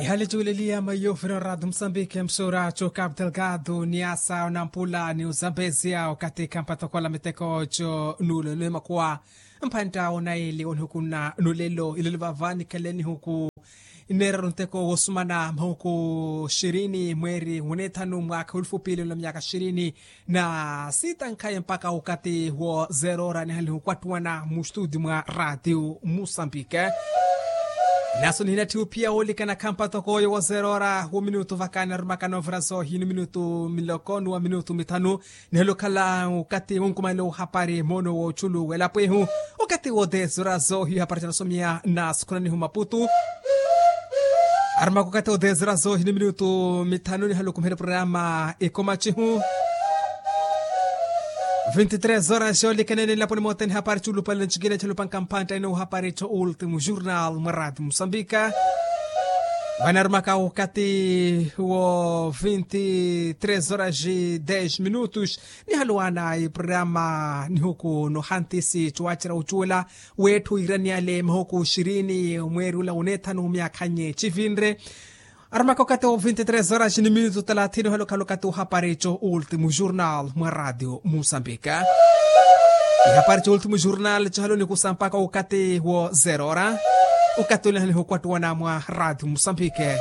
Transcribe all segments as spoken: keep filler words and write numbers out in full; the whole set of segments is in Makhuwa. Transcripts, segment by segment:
Ihali juuleliya maiyovira oratu musambiki msura cu capital gado ni asa onampula ni uzambezia okathi khampatokola miteko co nulo ni makuwa. Mphantta onaili onihukunna nulelo ilelo vava nikhaleni huku. Nneeraru nteko woosumana mahuku xirini mweeri wunethanu mwaakha wulufu piili nla myaka xirini na siitankhaye mpakha okathi wo zerora nihalihu okwattuwana mu studio mwa ratio musambike. Naso nihinatthi ophiya woolikana khampatoko oyo wo zerora wo minutu vakani arumaka noovira zoohi ni minutu miloko ni wa minutu mithanu. Nihela okhala okathi wonkumanela ohapari moono woochulu welapo ehu. Okathi wo dez horas ohiyo hapari canasomiya na sukhunanihu maputu. Arumaka okathi wo dez horas ohiyo ni minutu mithanu nihela okumiherya programa ekomachihu. Vinti tres horas yoolikanene nlaponi mothene hapari chulupale ncikina chalupanka mphantta ino hapari cho ultimo jornal mwa rati musambika. Vanaarumaka okathi wo vinti tres horas dez minutos. Nihaluwana iprograma nihuku nohantisi cuwacera ucuwela wetthu iraniyale mahuku xirini omweeri ula wunethanu myakhanye civinre. Arumaka okathi wo vinti tres horas ni minutu talathini ohela okhala okathi ohapari co ultimo jornal mwa ratio musambika. Ihapari co ultimo jornal cihaloni kusampaka okathi wo zerora. Okathi olihaniha okwattuwana mwa ratio musambike.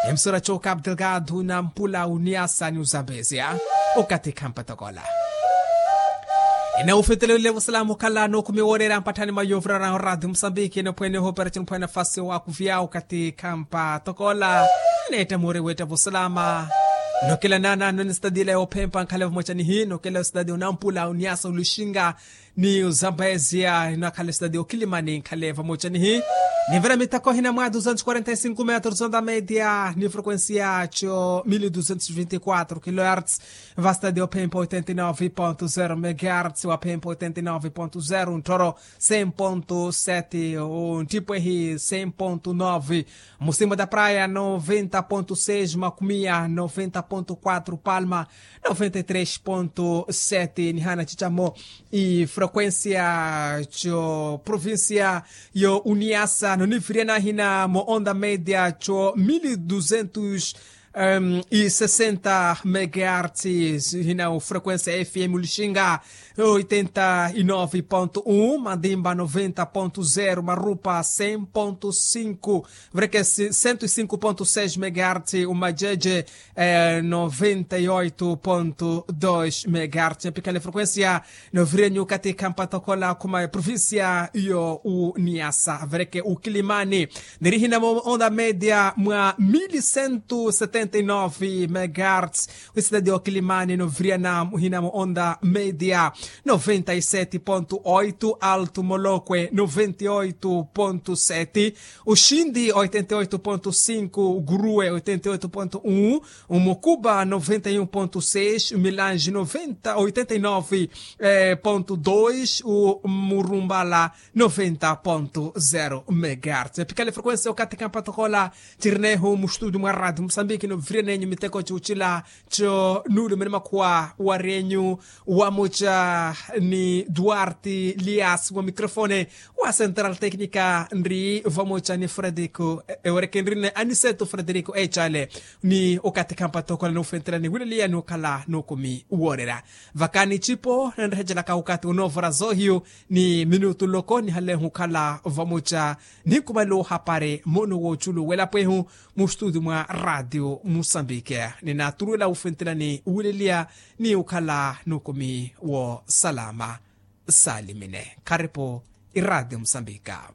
Emsora co capital gado na mpula uniyasa ni uzambezia. Okathi khampatokola. Ina ufetelewile vosalamu okhala nookumi wooreera mpatthani mwa yovirarahu ratio musambiki enophwene ohoopera cinophwene nafasi owakuvya okathi khampa tokola. Neetta moori weetta vosalama. Nokela naana noni sitadila yoophempa nkhale vamoca nihi nokela sitadi onampula uniyasa oluxinga ni uzambezia inakhala sitadi okilimani nkhale vamoca nihi. Nivira mitako hina mwa duzentos quarenta e cinco metros onda media ni frequencia co mil duzentos vinte quatro kilohertz. Vastadi ophempa oitenta nove ponto zero megahertz waphempa oitenta nove ponto zero nthoro cem ponto sete ontipwehi cem ponto nove. Musimba da praia noventa ponto seis macumia noventa ponto quatro palma noventa tres ponto sete nihana cicamo. Ifrequencia co provincia yo uniasa noniviriana hina mo onda media co mil duzentos e sessenta megahertz. Hina o frequencia fm lixinga oitenta nove ponto um madimba noventa ponto zero marupa cem ponto cinco vreke cento e cinco ponto seis megahertz umajeje noventa e oito ponto dois megahertz mpikhala frequencia. Novirenyu kathi khampatokola khuma provincia yo uniasa vereke ukilimani nirihina mo onda media mwa mil cento setenta e nove megahertz. Wisitadi okilimani noviriana hina mo onda media noventa e sete ponto oito alto molokwe noventa e oito ponto sete uxindi oitenta e oito ponto cinco gurue oitenta e oito ponto um umukuba noventa e um ponto seis umilanji noventa oitenta e nove ponto dois umurumbala noventa ponto zero megahertz epikale frequencia okathi kampatokola. Tirinehu mustudio mwa radio musambiki novirianenyu miteko cucila co nuulumene makhuwa warenyu wamuca ni duarte lias wa microfone wa central tecnica nri vamuca ni frederico ewereke nrine aniseto frederico ecale ni okathi kampatokola nufentelani wileliya ni okhala nukumi woorera. Vakani cipo nanrehecelaka okathi onoovora zohiyu ni minutu loko nihalehu okhala vamuca ninkumanela ohapari mono wooculu welapwehu mustudio mwa radio musambike. Ninaturuwela wufentelani wileliya ni okhala nukumi wo salama. Salimine kharipo iradio musambika.